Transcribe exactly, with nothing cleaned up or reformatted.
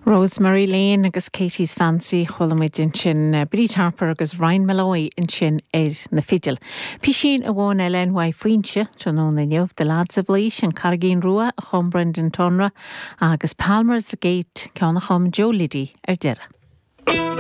Rosemary Lane agus Katie's Fancy chuala muid ansin eh, Bríd Harper agus Ryan Malloy ansin ar na fidil. Pisín amháin eile ó Foinse tráthnóna inniu The Lads of Laois an Carraigín Rua a chum Brendan Tonra agus Palmer's Gate ceann a chum Joe Liddy ar deireadh.